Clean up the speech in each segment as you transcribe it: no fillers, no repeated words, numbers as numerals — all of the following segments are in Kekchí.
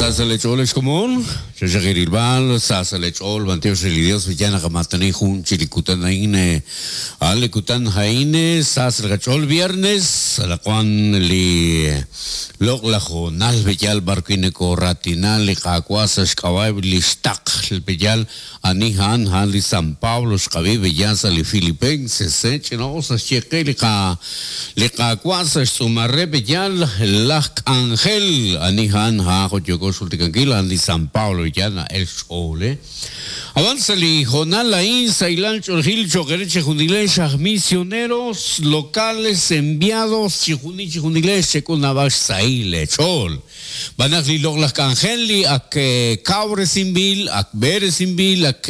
Sa sa' leech'ool ex komon, xaxaq eerilb'al, sa sa' leech'ool b'antiox re li Dios wi yaal naqamaatani jun chi li kutan a'in, a'an li kutan a'in sa sa' li qach'ool viernes, anaqwan li loq'laj hoonal wi yaal b'ar wi' nokoraatina li Qaawa' sa' xk'ab'a'eb' li xtaql wi yaal Ani a'an? A'an li San Pablo xqab'i b'eya sa' li Filipenses. Ch'ina'us naxye qe li qa li Qaawa' sa' xtz'uumal re b'eya laj k'anjel. Ani a'an? A'an jo' yooko xjultikankil, a'an li San Pablo b'eya na'el xch'ool. Ab'an sa' li hoonal a'in sahilal ch'oolejil cho'q eere chejunilex aj misioneros locales enviados chijunil chijunilex chek'ul naab'al xsahil leech'ool. Xb'aan naq li loq'laj k'anjel li ak kawresinb'il, ak b'eresinb'il, ak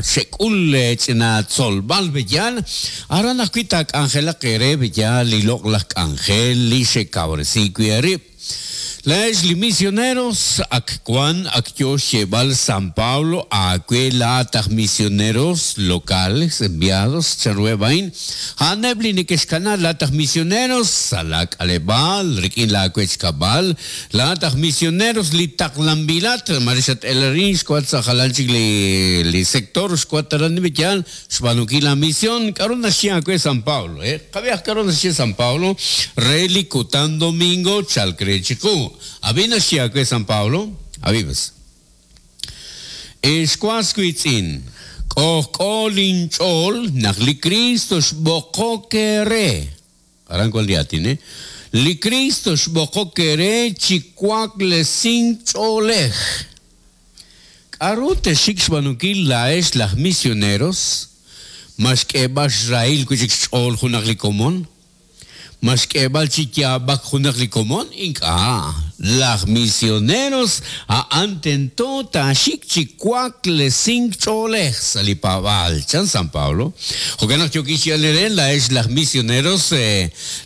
xek'ul ch'ina tzolb'al b'eyal, aran ajwi' taak'anjelaq eere b'eyal li loq'laj k'anjel li xekawresi wi' eerib'. Laa'ex li misioneros, ak wan ak yoo xyeeb'al San Pablo aawe laa'at aj misioneros locales enviados, chanruheb' a'in? A'aneb' li neke'xkana laa'at aj misioneros sa' laa k'aleb'aal, rik'in laa wech kab'al, laa'at aj misioneros li taqlanb'ilat, maare xat-el arin, xwank sa' jalan chik li li sector, xwank aran yaal xb'aanunkil laa mision. K'a'ru naxye aawe San Pablo? He, qab'ihaq k'a'ru naxye San Pablo re li kutan domingo chalk re chiqu. Ab'i naxye aawe San Pablo, ab'i pues. Ex was wiitz'in, k'ojk'o linch'ool naq li Kristo xb'oqok eere. Aran wan li aatin, eh? Li Kristo xb'oqok eere chi waklesink ch'oolej. K'a'ru texxik xb'aanunkil laa'ex laj misioneros? Ma xk'eeb'al xrahil wi' chik xch'ool junaq li komon? Ma xk'eeb'al chi yaab'ak junaq li komon? Ink'a'. Laj misioneros a'an tento taaxik chi waklesink ch'oolej sa' li paab'aal, chan San Pablo. Jo'kan naq yookin xyeeb'al eere, laa'ex laj misioneros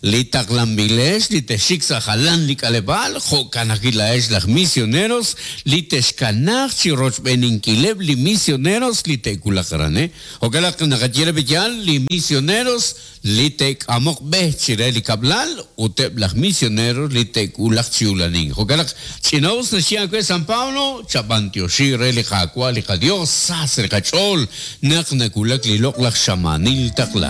li taqlanb'ilex li texxik sa' jalan li k'aleb'aal, jo'kan ajwi' laa'ex laj misioneros li texkanaaq chi rochb'eeninkileb' li misioneros li te'wulaq aran. Jo'kan naq naqaye re b'eyaal li misioneros li te'k'amoq b'e chire li kab'lal ut eb' laj misionero li te'wulaq chi ulanink. Jo'kan naq ch'ina'us naxye aawe San Pablo, chab'antioxi re li Qaawa' li qaDios, sa sa' li qach'ool naq nawulak li loq'laj xamaanil taqla.